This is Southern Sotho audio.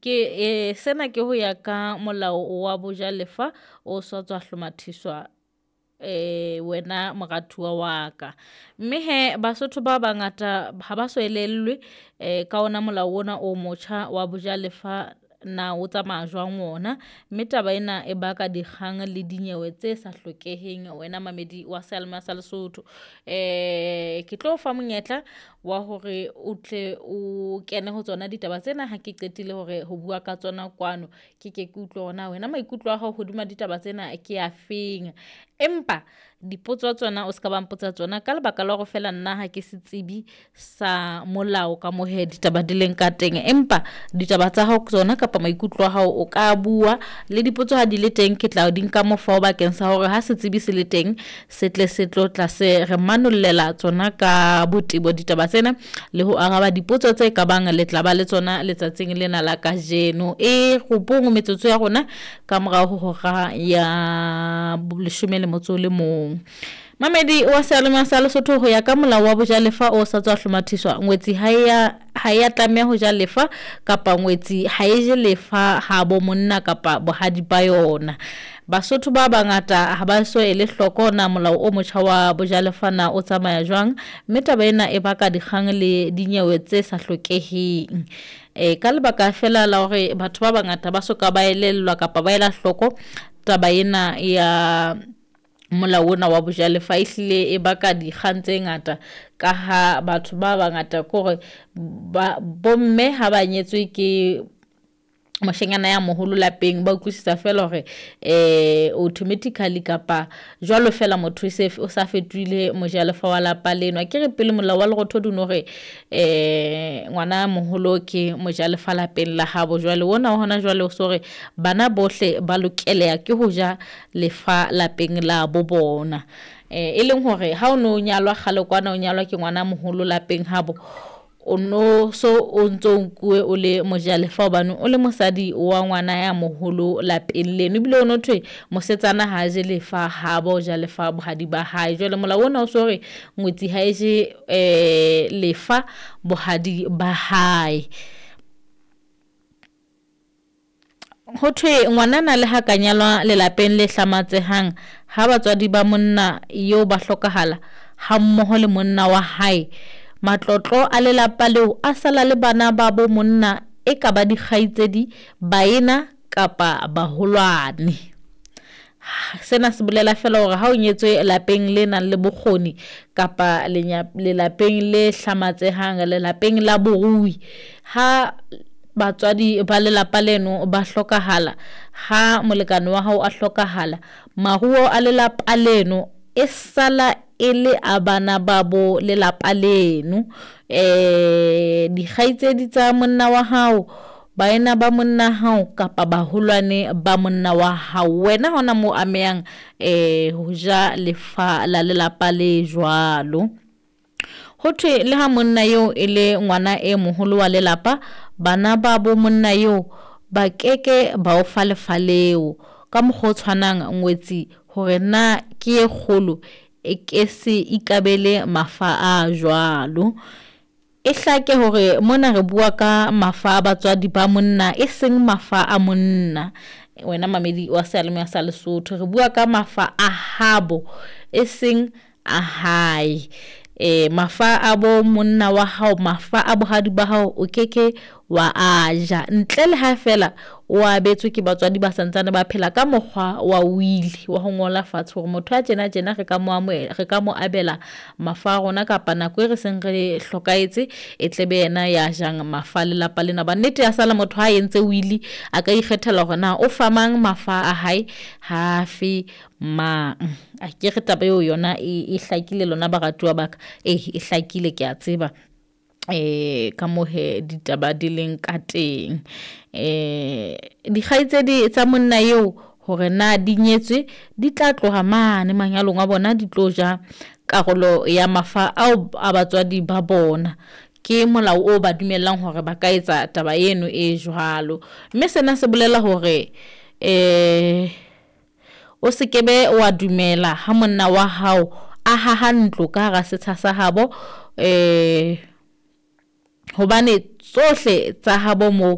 Ke sena ke ho ya ka molao wa bojalefa o sa tswa hlomathiswa wena moratuwa wa ka. Mme hee Basotho ba bangata ha ba so elellwe ka ona molao ona o motjha wa bojalefa na o tsamaya jwang ona, mme taba ena e baka dikgang le dinyewe tse sa hlokeheng wena mamedi wa seyalemoya sa Lesotho. Ke tlo o fa monyetla wa hore o tle o kene ho tsona ditaba tsena ha ke qetile hore ho bua ka tsona kwano, ke ke ke utlwe hore na wena maikutlo a hao hodima ditaba tsena ke afeng. Empa dipotso tsona o ska ba mpotsa tsona ka lebaka la hore feela nna ha ke setsibi sa molao ka moo hee ditaba di leng ka teng, empa ditaba tsa hao tsona kapa maikutlo a hao o ka bua le dipotso ha di le teng, ke tla di nka mofao bakeng sa hore ha setsibi se le teng se tle se tlo tla se re manollela tsona ka botebo ditaba tsena le ho araba dipotso tse kabang le tla ba le tsona letsatsing lena la kajeno. E robong metsotso ya rona ka morao ho hora ya leshome le motso o le mong. Mamedi wa seyalemoya sa Lesotho, ho ya ka molao wa bojalefa o sa tswa hlomathiswa, ngwetsi ha ya tlameha ho ja lefa kapa ngwetsi ha e je lefa ha bo monna kapa bohadi ba yona. Basotho ba bangata ha ba so ele hloko na molao o motjha wa bojalefa na o tsamaya jwang, mme taba ena e baka dikgang le dinyewe tse sa hlokeheng. Ka lebaka fela la hore batho ba bangata ba soka ba elellwa kapa ba ela hloko taba ena ya molao ona wa bojalefa, ehlile e baka dikgang tse ngata ka ha batho ba bangata kore ba bomme ha ba nyetswe ke moshanyana ya moholo lapeng, ba utlwisisa fela hore automatically kapa jwalo fela motho e se o sa fetohile mojalefa wa lapa leno. Akere pele molao wa Lerothodi o no re ngwana moholo ke mojalefa lapeng la habo, jwale ona wa hona jwale o so re bana bohle ba lokeleha ke ho ja lefa lapeng la bo bona. E leng hore ha o no nyalwa kgale kwana, o nyalwa ke ngwana moholo lapeng habo, o no so o ntso nkuwe o le mojalefa hobane o le mosadi wa ngwana ya moholo lapeng leno, ebile o no thwe mosetsana ha je lefa habo, o ja lefa bohadi ba hae. Jwale molao ona o so re ngwetsi ha e je lefa bohadi ba hae. Ho thwe ngwanana le ha ka nyalwa lelapeng le hlamatsehang, ha batswadi ba monna eo ba hlokahala ha mmoho le monna wa hae, matlotlo a lelapa leo a sala le bana ba bo monna e ka ba dikgaitsedi, baena kapa baholwane. Sena se bolela fela hore ha o nyetswe lapeng le nang le bokgoni kapa lelapeng le hlamatsehang, lelapeng la borui, ha batswadi ba lelapa leno ba hlokahala, ha molekane wa hao a hlokahala, maruo a lelapa leno e sala e le a bana ba bo lelapa leno. Dikgaitsedi tsa monna wa hao, baena ba monna hao kapa baholwane ba monna wa hao, wena hona moo amehang ho ja lefa la lelapa le jwalo. Ho thwe le ha monna eo e le ngwana e moholo wa lelapa, bana ba bo monna eo ba keke ba o fa lefa leo. Ka mokgwa o tshwanang ngwetsi hore na ke e kgolo e ke se ikabele mafa a jwalo. E hlake hore mona re bua ka mafa a batswadi ba monna, e seng mafa a monna. Wena mamedi wa seyalemoya sa Lesotho, re bua ka mafa a habo e seng a hae. Mafa a bo monna wa hao, mafa a bohadi ba hao o keke wa a ja ntle le ha fela o abetswe ke batswadi ba santsane ba phela ka mokgwa wa wili wa ho ngola fatshe hore motho a tjena tjena re ka mo amohela, re ka mo abela mafa a rona kapa nako e re seng re hlokahetse e tle be yena ya jang mafa a lelapa lena. Ba nnete ya sala motho ha entse wili a ka ikgethela hore na o fa mang mafa a hae, ha fe mang. A ke re taba eo yona e hlakile lona baratuwa ba ka, e hlakile ke a tseba ka moo he ditaba di leng ka teng. Dikgaitsedi tsa monna eo hore na di nyetswe di tla tloha mane manyalong a bona, di tlo ja karolo ya mafa ao a batswadi ba bona. Ke molao o ba dumellang hore ba ka etsa taba eno e jwalo, mme sena se bolela hore o se ke be wa dumela ha monna wa hao a haha ntlo ka hara setsha sa habo, hobane tsohle tsa habo moo